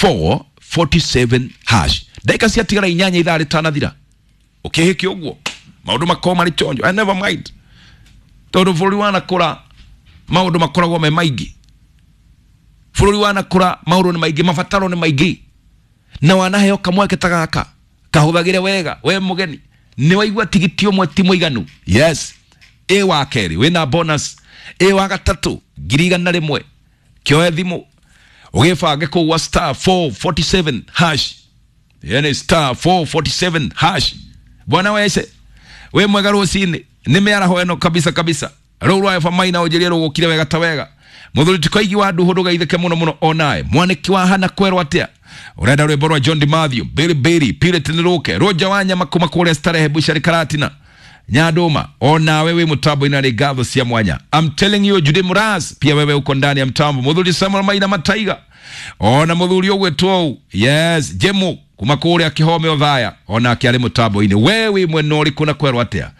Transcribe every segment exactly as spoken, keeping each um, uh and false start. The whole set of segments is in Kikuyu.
four forty-seven hash. Ndagĩka ciatigara inyanya ithaa rĩtanathira. Ũkĩhĩke ũguo maũndũ makorwo marĩ chonjo. I never mind, tondũ bũrũri wanakũra maũndũ makoragwo me maingĩ. Bũrũri wanakũra maũndũ nĩ maingĩ, mabataro nĩ maingĩ, na wanaheo kamweke ta gaka kahũthagĩre wega. We mũgeni nĩ waigua tigiti ũmwe ti mũiganu. Yes, ĩ wa kerĩ wĩna bonus, ĩ wa gatatũ ngiri igana rĩmwe. Kĩoe thimũ ũgĩbange kũu gwa star four forty-seven hash, yani star four forty-seven hash. Bwana wese we mwega rũcinĩ, nĩ mĩaraho ĩno kabisa kabisa. Rũu rwa Eva Maina ũnjĩrie rũgũkire wega ta wega. Mũthuri tikoigi wa nduhu ndũgaithĩke mũno mũno onae. Mwanĩki wa hana kwerwo atĩa? Ũrenda rwĩmbo rwa John DiMathio, Billy Billy, Pirate nĩrũke, Roger wa nyama kuma kũrĩa Starehe Bushari Karatina. Nyandũma onawe wĩ mũtambo-inĩ nĩ ngatho cia mwanya. I'm telling you Judy Muraz, pia wewe uko ndani ya mtambo. Mũthuri Samuel Maina Mataiga, ona mũthuri ũgwĩtwo ũũ, yes, Jemu kuma kũrĩa Kĩhome Othaya, onake arĩ mũtambo-inĩ. We wĩ mwena ũrĩkũ na kwerwo atĩa?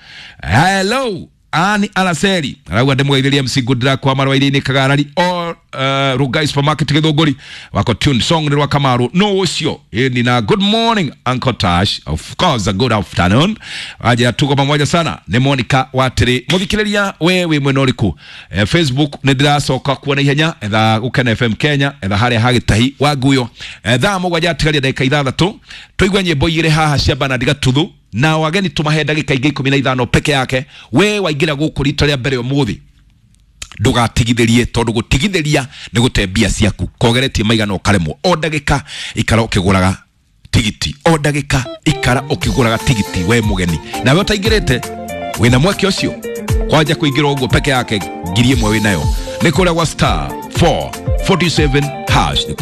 Hello Ani Alaseri arauga ndĩmũgeithĩrie M C Good Luck wa Marwairi-inĩ Kagarari o uh, Rugai Supermarket Gĩthũngũri wako tune song nĩ rwa Kamaru no ũcio. Ĩni na good morning Uncle Tash, of course a good afternoon. Aje tuko pamoja sana. Nĩ Monica Watiri mũthikĩrĩria, we wĩ mwena ũrĩkũ? Eh, Facebook nĩ ndĩracoka kuona ihenya, etha Gũkena F M Kenya, etha harĩa ha Gĩtahi wa Nguyo. Eh, thaa mũgwanja atigaria ndagĩka ithathatũ tũigue nyĩmbo igĩrĩ haha cia Bernard Gatuthu na wageni tumahe ndagĩka ingĩ ikũmi na ithano peke yake. We waingĩra gũkũ rita rĩa mbere ũmũthĩ ndũgatigithĩrie, tondũ gũtigithĩria nĩ gũte mbia ciaku. Kogeretie maigana ũkaremwo. O ndagĩka ikara ũkĩgũraga tigiti, o ndagĩka ikara ũkĩgũraga tigiti we mũgeni. Nawe ũtaingĩrĩte wĩna mweke ũcio kwanja kũingĩra ũguo peke yake ngiri ĩmwe wĩnayo nĩ kũrĩa gwa star four forty-seven hash.